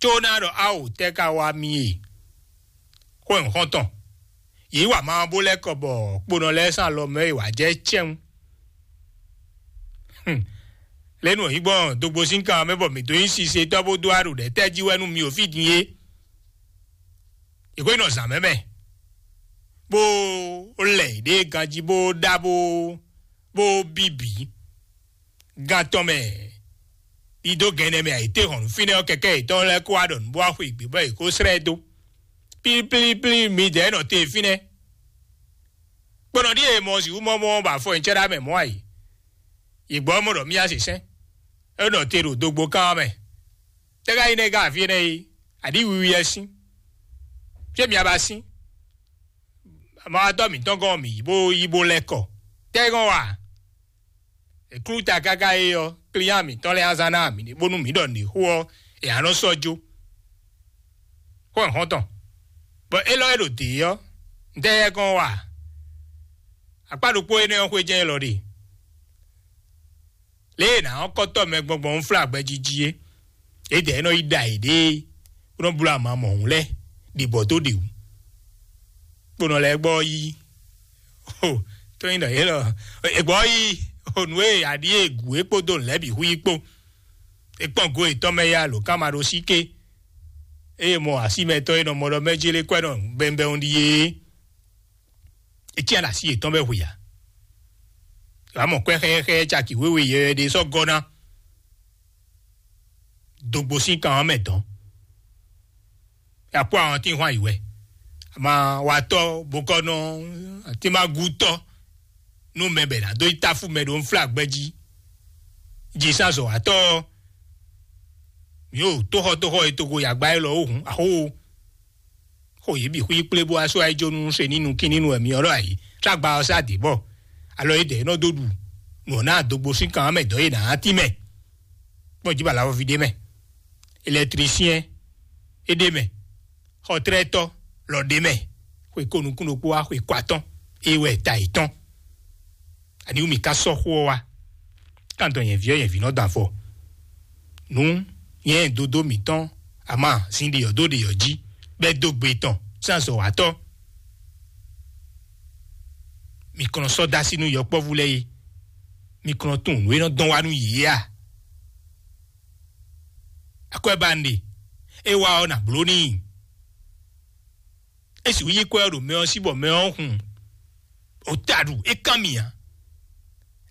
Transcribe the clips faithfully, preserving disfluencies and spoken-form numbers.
có ná ɖɔ áwǒ tɛ́ ka wá mì e. Xó e un xɔ́n tɔn, yě wá ma bó lɛ́ kɔ bɔ kponɔ lɛ́ɛ sín alɔ mɛ e wǎ jɛ cɛ́n. Lě nu hǐngbɔ́n dogbo sín kan mɛ bɔ mǐ dó nyí sisetɔ́ bó dó aɖo ɖɛ̌ tɛ́ jí wɛ nú mi o fí din é. È ko nɔ zǎn mɛ mɛ, bó lɛ yě ɖe ganjí bó ɖá bó bó bíbí. Gan tɔn mɛ, ɖidó gɛnɛ mɛ ayǐtéhɔ̌nnu fínɛ́ ɔ́, kɛkɛ́ yětɔn lɛ́ɛ kó wá ɖɔ nǔ bó wá xwe gbě bɔ yě kó slɛ́ ɛ dó. Plíplíplí, midɛɛ nɔ te fínɛ́. Kponɔ ɖíe mɔ sixú mɔ mɔ bɔ afɔ nyicɛ́ ɖá mɛ mɔ̌ a yi. Yě gbɔ mɔ ɖɔ mía se sɛ́n. É nɔ te ɖo dogbo kán ɔ́ mɛ. Tɛ́ ka nyí nɛ́ ká afí énɛ́ é? Aɖǐ wiwi wɛ sín. Fí e mia ba sín? Amawatɔ́ mǐtɔn gɔ́n mǐ yi bó yi bó lɛ́ kɔ. Tɛ́ gɔ́n wa? È klú ta káká é ɔ́, klíán mǐtɔn lɛ́ɛ azán ná mǐ ɖe bónú mǐ ɖɔ nǔɖé xó ɔ́, è nǎ nɔ sɔ́ jó. Xó e xɔ́n tɔn, bɔ élɔ́ e ɖo dě ɔ́, ntɛ́ yɛ kɔn wa? Akpá ɖokpó énɛ́ ɔ́ xwé jɛ́n élɔ́ ɖe. Lě e è nǎ ɔ́ kɔ́tɔ́ mɛ gbɔngbɔn ń flá gbɛjiji é, yědɛɛ nɔ yi ɖa yěɖée, bó nɔ bló ama mɔ̌hun lɛ́ɛ ɖi bɔ dó ɖe wǔ. Kponɔ lɛ́ɛ gbɔ yi, o, tó nyí ɖɔ yě lɔ, è gbɔ yi, o, nǔ e aɖí e gǔ é kpódó nǔ lɛ́ɛ bǐ hu yi kpó. É kpɔ́n go yětɔn mɛ ya lǒ kán ma ɖó sí ké. Eye mɔ asímɛtɔ́ e nɔ mɔ ɖɔ mɛ jélé kwɛ́ nɔ bɛnbɛn ɖíe é. É cyán ɖo así yětɔn bɔ é hu ya. Wǎ mɔ kwɛ́ xɛ́xɛ́ caki wěwe yɛyɛ ɖé sɔ́ gɔ́ ná. Dogbo sín kan ɔ́ mɛ dɔn. Akpó àwọn tí ń hwan yi wɛ. Ama watɔ́ bokɔnɔ, atínmágútɔ́ nú mɛ bɛ ná dó yi táfú mɛ ɖo nflá gbɛ́ jí. Jǐsázɔ̌watɔ́ ɔ́, mǐ ɖo tóxɔtóxɔ e togo yagba élɔ́ ó hǔn, axó. Xo yě bǐ xwí kplé bó wá sɔ́ ayíjónú se ní nukín ní nu wɛ myɔ ɖɔ ayǐ. Tlá gba ɔ́ sá dǐ bɔ alɔ yědɛɛ nɔ dó ɖu nǔ ɔ́ ná dogbo sín kan ɔ́ mɛ dɔ̌ yě ná tínmɛ. Kpɔ́n jí bɔ alawɔví ɖé mɛ, elɛtlisiɛn é ɖé mɛ, xɔtlɛ́tɔ́ lɔ ɖé mɛ, xwe ko nukún ɖokpó wá xwe ko atɔ́n, é wɛ ta yětɔn. Ani wú mì ka sɔ́ xó ɔ́ wá? Kántɔn nyɛ̌ví ɔ́, nyɛ̌ví nɔ dɔn afɔ. Nǔ nyɛ dodó mǐtɔn, ama sin ɖe ɔ́ dó ɖe ɔ́ jí, bɛ́ dó gbe tɔn sín azɔ̌watɔ́. Mi kplɔ́n sɔ́ dó así nú yɔkpɔ́vú lɛ́ɛ é. Mi kplɔ́n tunwun nǔ e nɔ dɔn wá nú yě é a? Akwɛ́ ba un ɖe, é wá ɔ́, nǎ bló n'i. É sixú yí kwɛ́ ɔ́ ɖo mɛ ɔ́ sí bɔ mɛ ɔ́ hun. O taɖu é kán mì ǎ.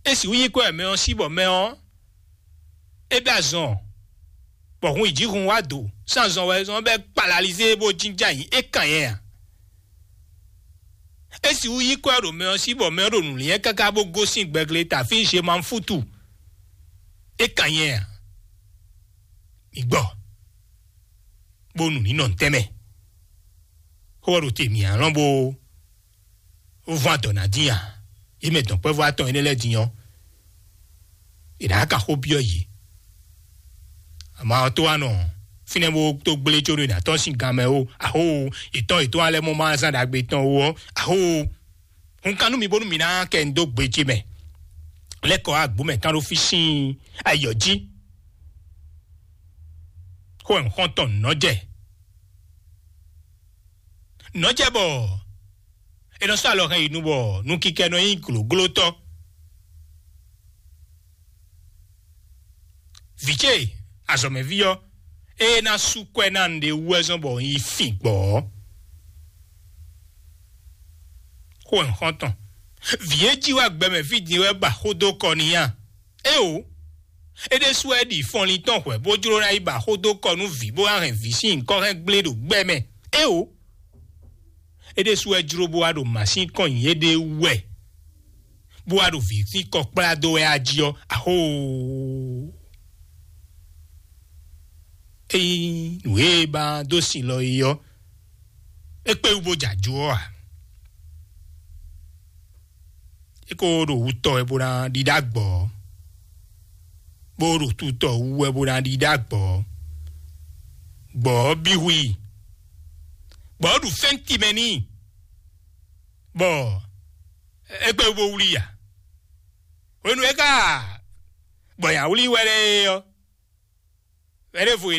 É sixú yí kwɛ́ mɛ ɔ́ sí bɔ mɛ ɔ́ é bɛ́ azɔn, bɔ hun yi jǐ hun wá do sín azɔn wɛ zɔn bɛ́ kpalalizé bó jínjɔ́n ayǐ é kán nyɛ ǎ. É sixú yí kwɛ́ ɖo mɛ ɔ́ sí bɔ mɛ ɔ́ ɖo nǔ liɛ́n káká bó gosín gbɛgle tafí Zemafútu. É kán nyɛ ǎ. Mi gbɔ, bó nǔ ní nɔ ntɛ́nmɛ. Xó ɔ́ ɖo te mǐ alɔ́n bó vɔ́n adɔ̌ ná dín a? Yě mɛ dɔ̌nkpɛvú atɔn énɛ́ lɛ́ɛ din ɔ́, è nǎ ka xó byɔ́ yě. Amǎ ɔ́ tó wá nɔ fínɛ́ bó tó gblé có ɖo è nǎ tɔ́n sín gan mɛ ó, axó, yětɔn yětɔn alɛ mɔ ma zán ɖagbe tɔn ó ɔ́, axó, hun kan nú mi bónú mi ná kɛ un dó gbe ce mɛ. Lɛ́ kɔ wá agbǒ mɛ kán ɖó fí sín ayǐ ɔ́ jí. Xó wɛ un xɔ́n tɔn nǔ nɔ jɛ. Nǔ nɔ jɛ bɔ è nɔ sɔ́ alɔ hɛn yi nu bɔ nukikɛ nɔ nyí glǒglótɔ́. Vǐ ce azɔ̌mɛví ɔ́, ée ná sú kwɛ́ ná un ɖe wú wɛ zɔ́n bɔ un yi fin gbɔ̌ ɔ́. Xó wɛ un xɔ́n tɔn. Vǐ e jí wá gbɛmɛ fí din wɛ ba xó dó kɔ n'i a? Éeǒ! É ɖésú wɛ ɖi fɔnlin tɔn hwɛ̌ bó jló ná yi ba xó dó kɔ nú vǐ bó ná hɛn vǐ sín nyǐkɔ hɛn gblé ɖo gbɛ mɛ. Éeǒ! É ɖésú wɛ jló bó wá ɖo mǎ sín kɔn nyi éɖée wú wɛ, bó wá ɖo vǐ sín kɔ kplá dó wɛ a jí ɔ́, axóoo! Ényí nǔ e ba dó sin lɔ é ɔ́, é kpé wú bó jɛ ajo ɔ́ ǎ. É ko ɖo wutɔ wɛ bó ná ɖiɖá gbɔ̌, bó ɖo tutɔ wú wɛ bó ná ɖiɖá gbɔ̌. Gbɔ̌ ɔ́ bí hu i, gbɔ̌ ɔ́ ɖu fɛ́nti mɛ n'i, bɔ é kpé wú bó wlí i ǎ. Hwenu e é ka gbɔ nya wlí wɛ lɛ́ɛ é ɔ́, vɛ̌ ɖěvo e